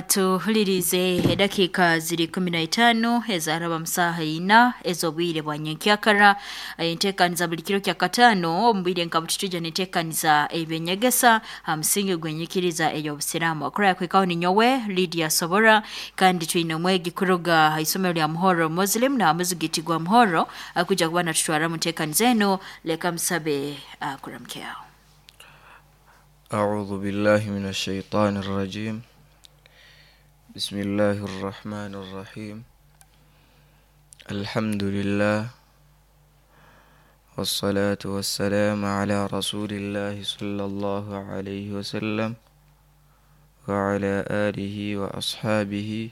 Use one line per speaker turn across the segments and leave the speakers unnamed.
Tuhulirize edakiika ziri 15 ezaraba musaha ina ez'obwire bwa nyenkyakara. Enteekaniza buli kiro kya kataano omu bwire nka bututujja neteekaniza ebyenyegesa ha musingi gw'enyikiriza ey'obusiraamu. Akura yakwikaho ninyowe Lydia Sobora, kandi twine omwegi kuruga ha isomero lya Muhoro Muslim na muzigiti gwa Muhoro akujja kuba natutwaramu nteekaniza enu. Leka musabe akuramukyaho.
أعوذ بالله من الشيطان الرجيم. بسم الله الرحمن الرحيم. الحمد لله والصلاة والسلام على رسول الله صلى الله عليه وسلم وعلى آله وأصحابه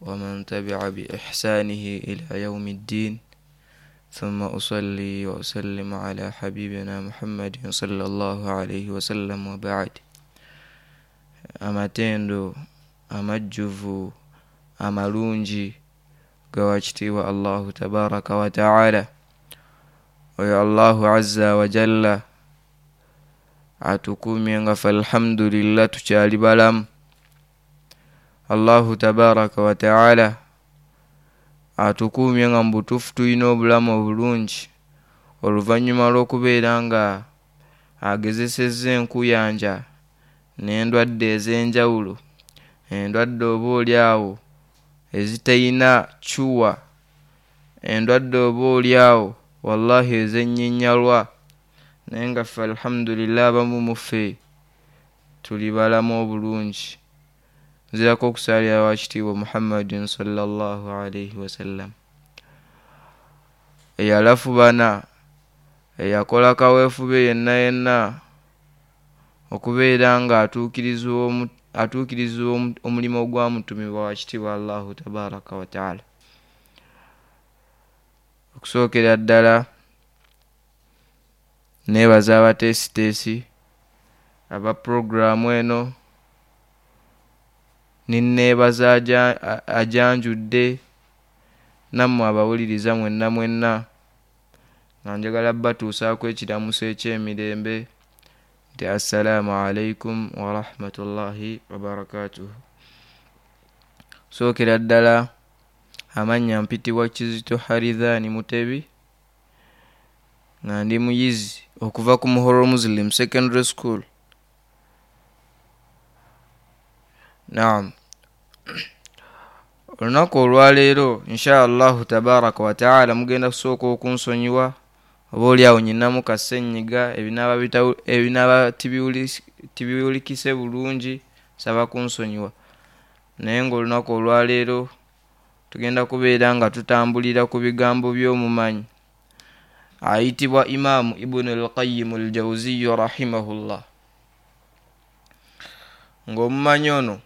ومن تبع بإحسانه إلى يوم الدين، ثم أصلي وأسلم على حبيبنا محمد صلى الله عليه وسلم، وبعد. Amatendo amajjuvu amalungi gawa kitiibwa Allahu tabaraka wa taala, oyo Allahu azza wa jalla atukumye nga fe alhamdulillah tukyali balamu. Allahu tabaraka wa taala atukuumye nga mu butuufu tulina obulamu obulungi oluvannyuma lw'okubeera nga agezesezza enkuyanja n'endwadde ez'enjawulo, endwadde oba oli awo ezitayina cuwa, endwadde oba oli awo wallahi ezennyinyalwa, naye nga ffe alhamdulillah abamu muffe tuli balamu obulungi. Nzirako okusaalira wa kitiibwa Muhammadin sallallahu alaihi wasallam, eyalafubana, eyakola kaweefube yenna yenna okubeera nga atuukiriza omulimu ogwamutumibwa wa kitiibwa Allahu tabaraka wa taala. Okusookera ddala neebaza abateesiteesi aba puroguraamu eno, ninneebaza ajanjudde nammwe abawuliriza mwenna mwenna, nga njagala batuusaako ekiramuso eky'emirembe nti assalaamu alaikum warahmatullahi wabarakatuhu. Sookera ddala amannya mpitibwa Kizito Haridhani Mutebi, nga ndi muyizi okuva ku Muhoro Muslim Secondary School. Naam, olunaku olwaleero insha Allahu tabaraka wa taala mugenda kusooka okunsonyiwa oba oli awo nyinamu kasenyiga ebinaaba tibiwulikise bulungi, nsaba kunsonyiwa. Naye ng'olunaku olwaleero tugenda kubeera nga tutambulira ku bigambo by'omumanyi ayitibwa Imaamu Ibunu al-Qayyim al-Jawziyo rahimahullah. Ng'omumanyi ono